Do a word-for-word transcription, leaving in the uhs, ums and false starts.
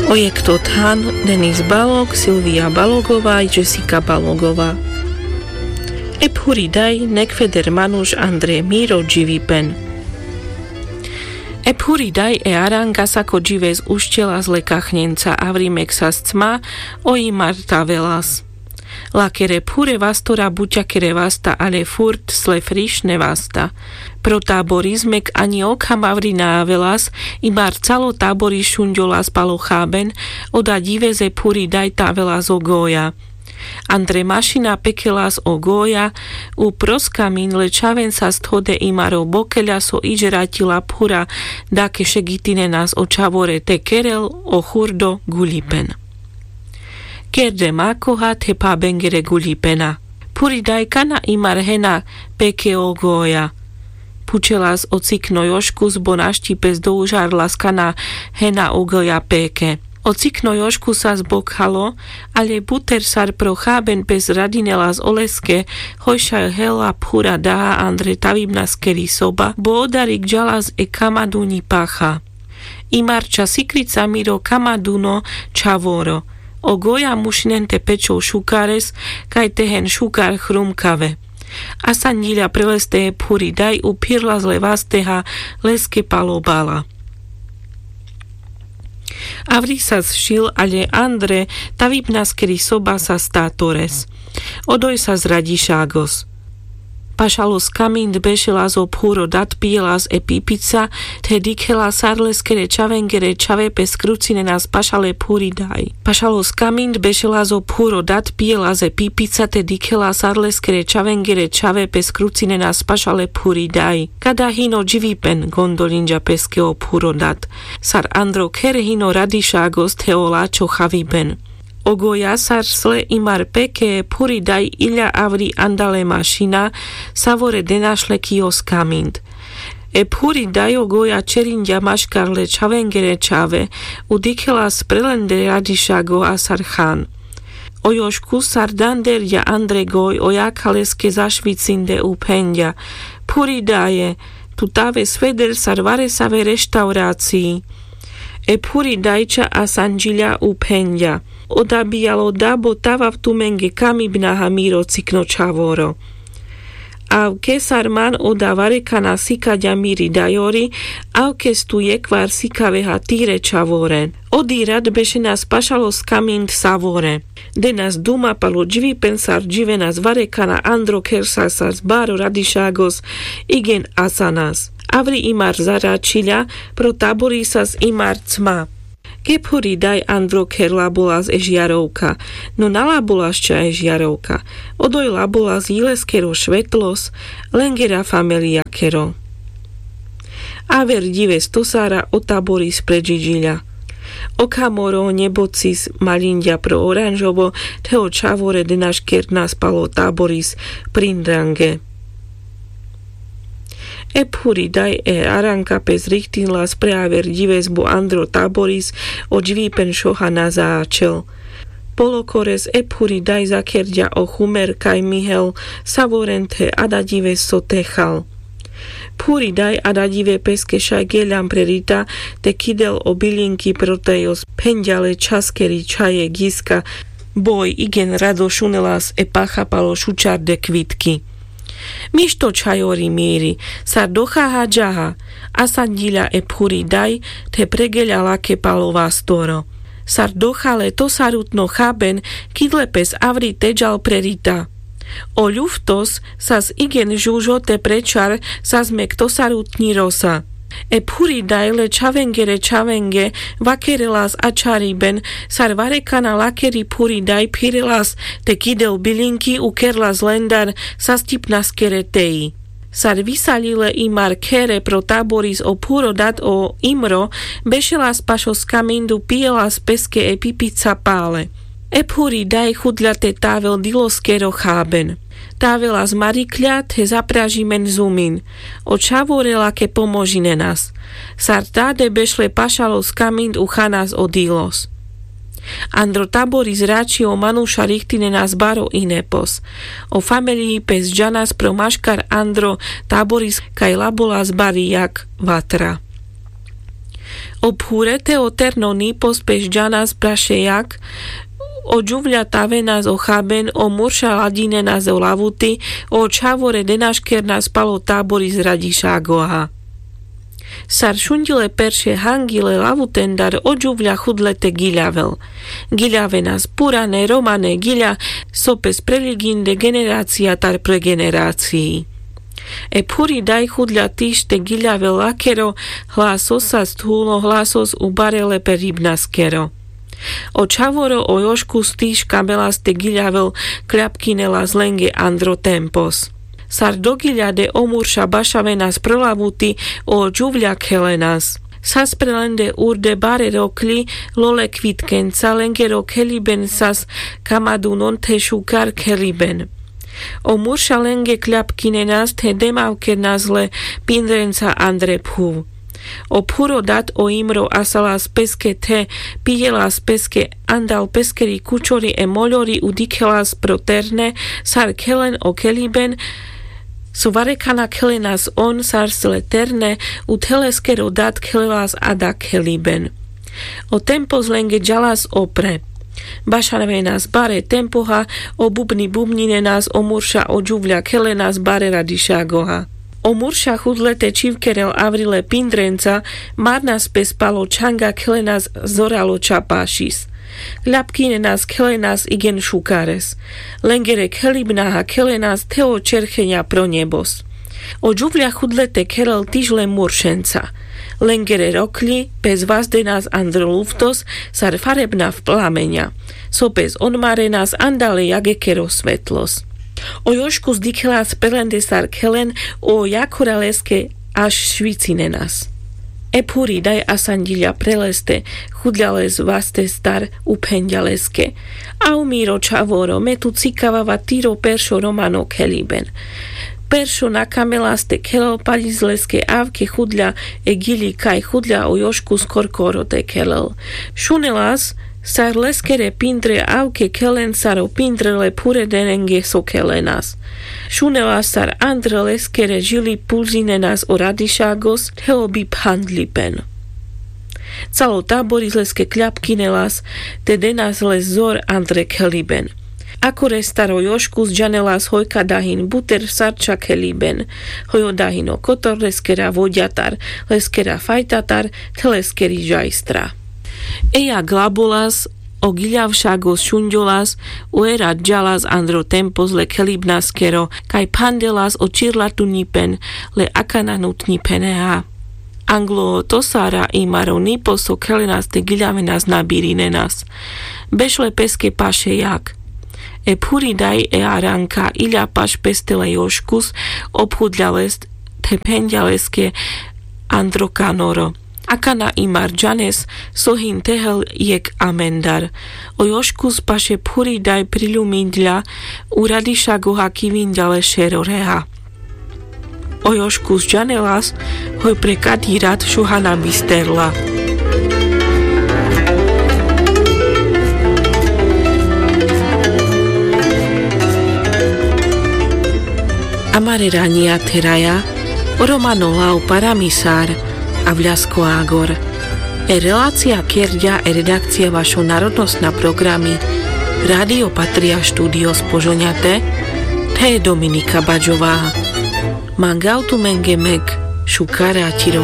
O jekh to than: Denis Balog, Silvia Balogová i Jessica Balogová. E phuri daj, nekveder manuš andre miro dživipen. E phuri daj e aranka sako džives uščelas le kachnenca, avri mek sas cma o imar tavelas. Lakere phure vastora buťakere vasta ale furt sle frišne vasta. Pro taboris mek ani okham avri na avelas, imar calo taboris šunďolas palo chaben. Oda džives e phuri daj tavelas o goja. Andre mašina pekelas o goja, upro skamin le čhaven sas thode imar o bokeľa so idžeraťila phura, dake šegitinenas o čhavore te kerel o churdo guľipen. Kerde makoha the phabengere guľipena. Phuri daj, kana imar hena peke o goja? Phučelas o cikno Joškus, bo našti pes doužarlas kana hena o goja peke. O cikno Joškus sas bokhalo, ale buter sar pro chaben pes radinelas oleske, hoj šaj hela phura daha andre tavibnaskeri soba, bo odarik džalas e kamaduňi pacha. Imar ča sikrica miro kamaduňo čhavoro. O goja mušinen te pečol šukares, kaj te hen šukar chrumkave. Asanďiľa preleste e phuri daj, uphirlas le vasteha leske palo bala. Avri sas šil, ale andre tavibnaskeri soba sas tatores. Odoj sas radišagos. Pašalo skamind bešelas o phuro dat, pijelas e pipica, the dikhelas sar leskere čhavengere čhave pes krucinenas pašale phuri daj. Pašalo skamind bešelas o phuro dat, pijelas e pipica, te dikhelas sar leskere čhavengere čhave pes krucinenas pašale phuri daj. Kada hino dživipen? Gondolinďa peske o phuro dat. Sar andro kher hino radišagos the o lačho chaviben. O goja sar sle imar peke, e phuri daj iľa avri andale mašina, savore denašle ki o skamind. E phuri daj o goja čerinďa maškar le čhavengere čhave, udikhelas prelendere radišago a sar chan. O Joškus sar danderďa andre goj, ojakha leske zašvicinde, uphenďa: Phuri daje, tu tave sveder sar varesave reštauracii. E phuri daj ča asanďiľa, uphenďa: Oda bijalo da, bo tavav tumenge kamibnaha miro cikno čhavoro. Avke sar man oda varekana sikaďa miri dajori, avkes tu jekvar sikaveha tire čhavore. Odi rad bešenas pašalo skamind savore. Denas duma palo dživipen sar dživenas varekana andro kher sar sas baro radišagos igen asanas. Avri imar zaračiľa, pro taboris sas imar cma. Ke phuri daj andro kher labolas e žiarovka? No na labolas ča e žiarovka. Odoj labolas jileskero švetlos, lengera familijakero. Aver ďives tosara o taboris predžiďiľa. Okhamoro nebocis maľinďa pro oranžovo, the o čhavore denaškernas palo taboris prinrange. E phuri daj e aranka pes richtinlas pre aver ďives, bo andro taboris o ďivipen šoha na zaačel. Polokores e phuri daj zakerďa o chumer kaj mihel savoren the ada ďives so techal. Phuri daj ada ďive peske šaj geľan pre rita, te kidel o biľinky pro tej os phenďa le čhaskeri čhaje giska, boj igen rado šunelas e pacha palo šučarde kvitky. Mišto čhajori miri, sar dochaha džaha. Asanďiľa e phuri daj, the pregeľa lake palo vastoro. Sar dochale tosarutno chaben, kidle pes avri te džal pre rita. O ľuftos sas igen žužo te prečar, sas mek tosarutňi rosa. E phuri daj le čhavengere čhavenge vakerelas ačhariben, sar varekana lakeri phuri daj phirelas, te kidel biľinky ukerlas lendar sas tipnaskere teji. Sar visaľile imar khere pro taboris o phuro dat o imro, bešelas pašo skamind, upijelas peske e pipica pale. E phuri daj chudľa te tavel diloskero chaben. Tavelas marikľa, the zapražimen zumin. O čhavore lake pomožinenas. Sar tade bešle pašalo skamind, uchanas o dilos. Andro taboris rači o manuša richtinenas baro inepos. O familii pes džanas pro maškar andro taboris kaj labolas bari jak vatra. O phure te o terno nipos pes džanas prašejak. O džuvľa tavenas o chaben, o murša ladžinenas o lavuti, o čhavore denaškernas palo tábori z radišagoha. Sar šundile perše hangile lavutendar o džuvľa chudle te giľavel. Giľavenas purane romane giľa, so pes preľiginde generácia tar pre generácii. E phuri daj chudľa tiš te giľavel lakero, hlasos sa sthulo hlasos u bare le peribnaskero. O čhavoro o joškus tiš kamelas te giľavel, kľapkinelas lenge andro tempos. Sar do giľade o murša bašavenas prlavuti, o džuvľa khelenas. Sas pre lende urde bare rokľi, lole kvitkenca lengero kheliben sas kamadunon te šukar kheliben. O murša lenge kľapkinenas te demavkenas le pindrenca andre phuv. O phuro dat o imro asalas peske te, pijelas peske andal peskeri kučori e moľori u dikhelas pro terne, sar khelen o kheliben. So varekana khelenas on sar sle terne, u te leskero dat khelelas ada kheliben. O tempos lenge džalas opre. Bašavenas bare tempoha, o bubni bubninenas o murša o džuvľa khelenas bare radišagoha. O murša chudle te čhivkerel avrile pindrenca, marnas pes palo čhanga khelenas zoralo čapašis. Kľapkinenas khelenas igen šukares. Lengere khelibnaha khelenas te o čercheňa pro nebos. O džuvľa chudle te khelel tiš le muršenca. Lengere rokľi pes vazdenas andro luftos sar farebnav plameňa. So pes onmarenas andale jagekero svetlos. O joškus dikhelas pre lende sar khelen, o jakora leske aš švicinenas. E phuri daj asanďiľa pre leste, chudľa les vaste star, u phenďa leske: A o miro čhavoro, me tu cikavava tiro peršo romano kheliben. Peršo nakamelas te khelel, paľic leske avke chudľa e giľi kaj chudľa o joškus korkoro te khelel. Šunelas sar leskere pindre avke khelen sar o pindre le phure derenge so khelenas. Šunelas sar andre leskere žiľi pulzinenas o radišagos te o biphandľipen. Calo tábori leske kľapkinelas, te denas les zor andre kheliben. Akores star o joškus džanelas hoj ka dahin buter sarča kheliben, hoj o dahin o kotor leskera voďatar, leskera fajtatar, te leskeri žajstra. Eja glabolas, o giľavšagos šunďolas, o era džalas andro tempos le khelibnaskero, kaj phandelas o čirlatunďipen, le akana nutňipeneha. Anglo to sara imaro nipo so khelenas te giľavenas nabirinenas. Bešle peske paše jak. E phuri daj e aranka iľa paš peste le joškus, obchudľa lest, te phenďa leske andro kanoro. Akana imar džanes, so hin tehel jekh amendar. O joškus paše phuri daj priľuminďa, u radišagoha kivinďa le šero reha. O joškus džanelas, hoj pre kadi rat šuhana bisterla. Amare raňia theraja, o romano lao paramisar, a vľasko agor. E relacia kerďa e redakcia vašo narodnosna programi Radio Patria, štúdio z Požoňate, the Dominika Baďová. Mangavtumenge mek šukara tiro